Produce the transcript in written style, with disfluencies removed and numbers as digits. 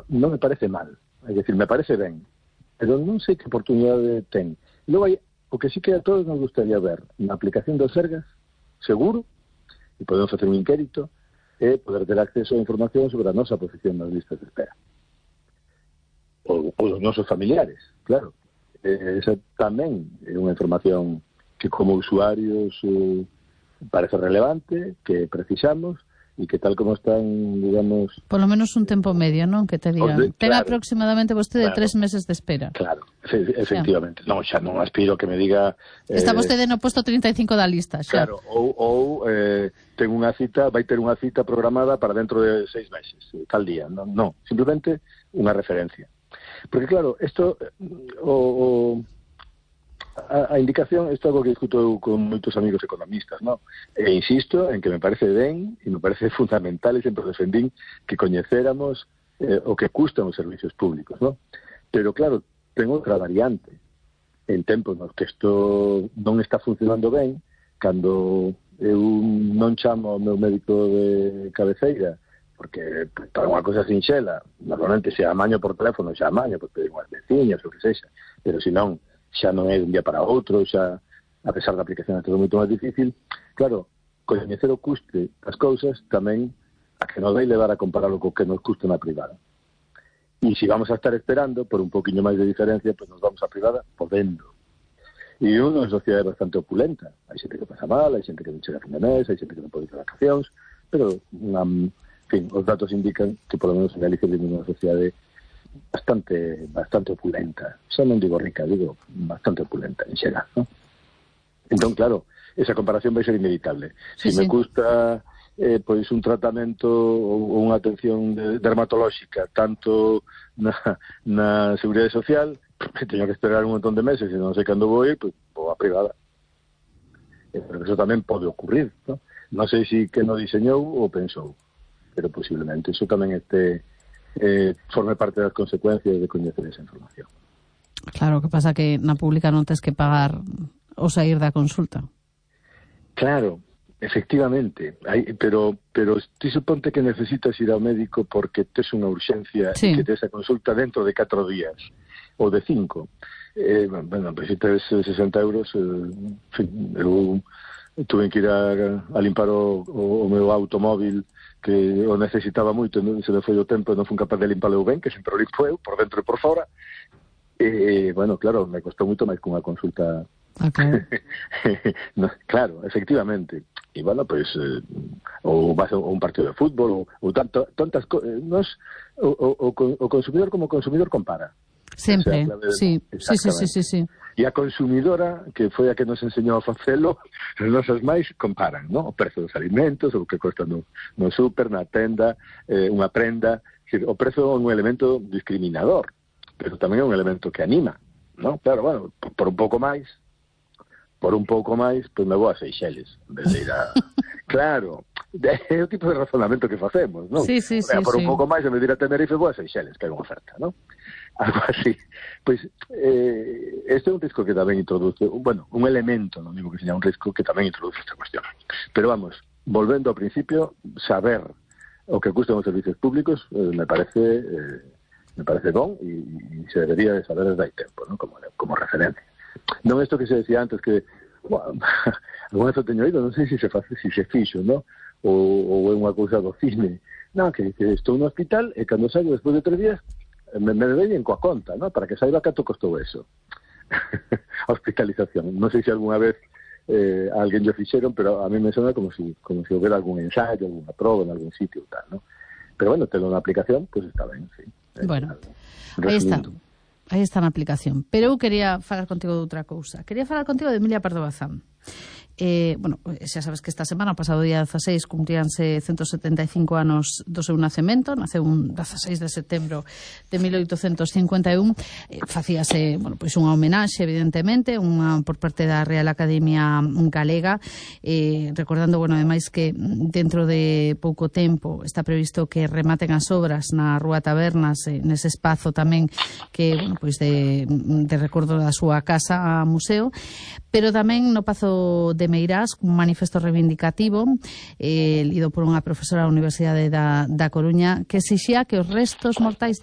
non me parece mal, é dicir, me parece ben, pero non sei que oportunidade ten. Logo hai, o que sí que a todos nos gustaría ver na aplicación do Sergas, seguro, e podemos facer un inquérito, é poder ter acceso a información sobre a nosa posición nas listas de espera. Ou os nosos familiares, claro. Esa tamén é unha información que como usuarios parece relevante, que precisamos, e que tal como están, digamos... Por lo menos un tempo medio, non? Que te digan. Ten aproximadamente vostede 3 meses de espera. Claro, efectivamente. Non, xa non aspiro que me diga... Está vostede no posto 35 da lista, xa. Claro, ou ten unha cita, vai ter unha cita programada para dentro de 6 meses, tal día. Non, simplemente unha referencia. Porque claro, isto... A indicación, isto é algo que discuto con moitos amigos economistas, ¿no? E insisto en que me parece ben e me parece fundamental, e sempre defendín que coñecéramos o que custan os servicios públicos, ¿no? Pero claro, ten outra variante. En tempos nos que isto non está funcionando ben, cando eu non chamo ao meu médico de cabeceira, porque para unha cosa sinxela, normalmente se amaño por teléfono, xa amaño, por pedir unhas veciñas, o que sexa, pero se non, xa non é de un día para outro, xa, a pesar da aplicación é todo moito máis difícil. Claro, coñecer o custe das cousas tamén a que nos vai levar a compararlo co que nos custa na privada. E se vamos a estar esperando por un poquinho máis de diferencia, pues nos vamos a privada podendo. E unha sociedade bastante opulenta. Hai xente que pasa mal, hai xente que non chega a fin de mes, hai xente que non pode ir a vacacións, pero, en fin, os datos indican que por lo menos en Galicia vivimos unha sociedade bastante opulenta. Xa non digo rica, digo bastante opulenta en xeral, ¿no? Entón, claro, esa comparación vai ser inevitable. Sí, me custa pois un tratamento ou unha atención dermatolóxica tanto na Seguridade Social, teño que esperar un montón de meses e non sei cando vou ir, pois vou a privada. Pero eso tamén pode ocurrir, ¿no? Non sei se que non diseñou ou pensou, pero posiblemente eso tamén forme parte das consecuencias de coñecer esa información. Claro, que pasa que na pública non tens que pagar o sair da consulta. Claro, efectivamente, pero ti suponte que necesitas ir ao médico porque tes unha urxencia e que tes a consulta dentro de 4 días ou de 5. Bueno, pues se tes 60 euros, en fin, eu tuve que ir a limpar o meu automóvil que o necesitaba moito, non se me foi o tempo e non fui capaz de limpalo ben, que sempre o limpo eu, por dentro e por fora. Bueno, claro, me costou moito máis que unha consulta. Okay. No, claro, efectivamente. E, bueno, pues, ou vas a un partido de fútbol, ou tantas cosas. O consumidor como consumidor compara. Sempre, o sea, sí. E a consumidora, que foi a que nos enseñou a facelo, as nosas máis comparan, ¿no? O prezo dos alimentos, o que cuesta no súper, na tenda, unha prenda. O prezo é un elemento discriminador, pero tamén é un elemento que anima, ¿no? Claro, bueno, por un pouco máis, pois me vou a Seychelles, en vez de ir a... Claro, é o tipo de razonamento que facemos, ¿no? Sí. Por un pouco máis, en vez de ir a Tenerife, vou a Seychelles, que hai unha oferta, ¿no? Algo así. Pois, este é un risco que tamén introduce, bueno, un elemento, non digo que seña un risco, que tamén introduce esta cuestión. Pero vamos, volvendo ao principio, saber o que custan os servicios públicos me parece bon e se debería de saber desde hai tempo, ¿no? Como referencia. Non isto que se decía antes que, bueno, alguna vez o teño oído, non sei se se fixo, ¿no? Ou é unha cousa do cine. Non, que estou no hospital e cando saio despois de 3 días me deben coa conta, ¿no? Para que saiba canto costou eso. A hospitalización. Non sei se alguna vez alguén yo fixeron, pero a mí me sona como si houbera algún ensayo, alguna proba en algún sitio ou tal, ¿no? Pero bueno, telo na aplicación, pues está ben, sí. Bueno, aí está na aplicación. Pero eu quería falar contigo de outra cousa. Quería falar contigo de Emilia Pardo Bazán. Bueno, xa sabes que esta semana, pasado día 16, cumpríanse 175 anos do seu nacemento. Naceu un 16 de setembro de 1851. Facíase, bueno, pois unha homenaxe, evidentemente, unha por parte da Real Academia Galega, recordando, bueno, ademais que dentro de pouco tempo está previsto que rematen as obras na Rúa Tabernas, nese espazo tamén que, bueno, pois de recordo da súa casa a museo, pero tamén no Pazo de Meirás, un manifesto reivindicativo lido por unha profesora da Universidade da Coruña, que exixía que os restos mortais da